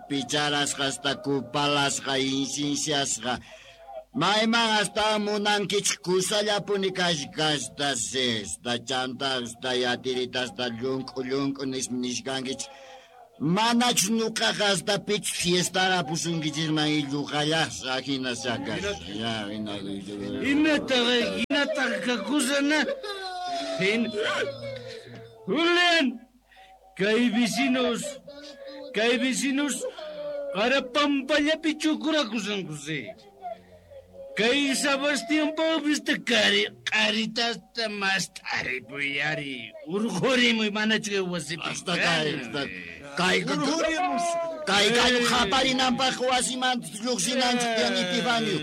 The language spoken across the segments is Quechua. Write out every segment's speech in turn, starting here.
Picharasqa hasta kupalasqa insinsiasqa mayman hasta munankichik kusallapuni kashkasta esta chanta hasta yatiritasta llunk'u llunk'u nishkankichik manach nuqaqa hasta pich fiestara pusunkichisman illuqallasqa hina sakas ya hina Imataqa hinataqa kakusana. Julián, kay vecinos qarapampallapi chukurakusanku sí. Kay Sebastián Pavista qaritasta mast'aripuyari urqurimuy manachu kay wasipi. Hasta kay kay gallo qaparinanpaq wasimanta lluqsinanchik tiyan Epifanio.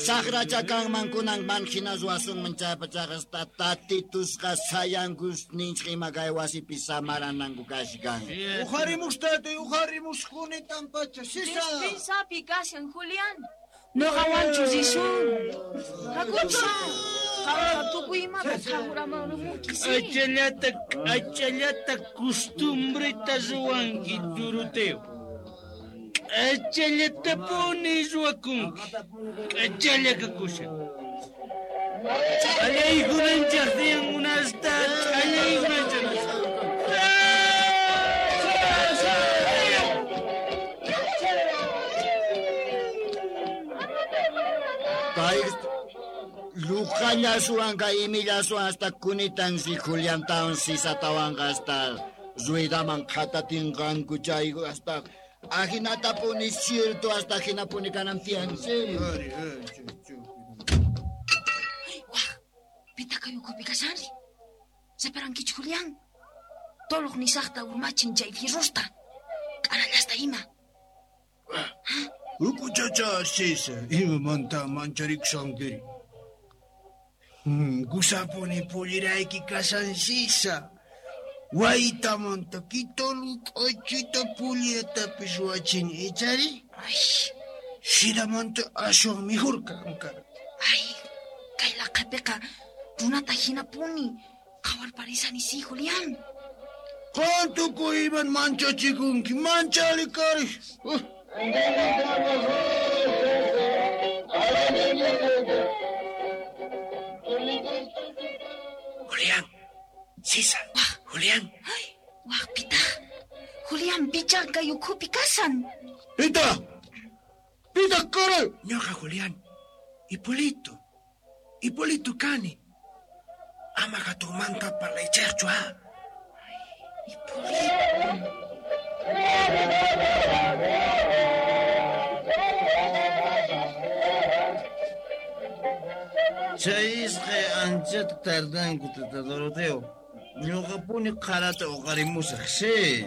Saqracha kanman kunanman hina ruwasunman chaypachaqa hasta tatitusqa sayankus ninchik ima kay wasipi samarananku kashkan. Uqarimus tatay, uqarimus kunitan pacha. Sisa. Despensapi kashan, Julián. Noqawanchu risun. Hakucha. Qamqa tukuy imata qhawuramanrumunki, sí. Achallata costumbreta ruwanki, Doroteo. K'achallatapuni ruwakunki. K'achalla kakushan. Ch'allaykunanchaq tiyan unasta, ch'allaykunanchaq. Kay lluqallasuwan kay imillasuwan hasta kunitansi Juliantawan sisatawanqa hasta ruedaman qhatatinqanku chay hasta ajinatapuni cierto hasta hinapuni kanan tiyan sí. Waj, pitaq kay ukhupi kashanri? Separankichu, Julián? Toloq nisaqta urmachin chay fierrosta. K'arallasta ima. Ukuchacha sisa, imamanta mancharikushankiri. Kusapuni pullirayki kashan sisa. Waytamanta kitolu k'achita pulliratapis ruwachin ichari. Ay. Sidamanta aswan mejor kanka. Ay, kay laqhapiqa runata hinapuni qhawarparisani sí, Julián. Qan tukuy iman manchachikunki, manchali kari. Julián, Sisa, Julián. Ay, waj, pitaq. Julián, pichá kay ukhupi kashan. Pita, pita kari. Ñuqa Julián, Hipólito, Hipólito kani. Ama hatunmanta parlaychaqchu, ha. Hipólito. Chay isqay anchata tardanku, tata Doroteo. Ñuqapuni qarata uqarimusaq, sí.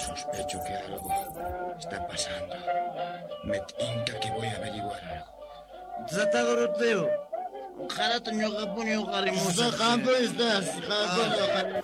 Sospecho que algo está pasando. Me tinca que voy a averiguar algo. Tata Doroteo, qarata ñuqapuni uqarimusaq. Qampu estás, qampu.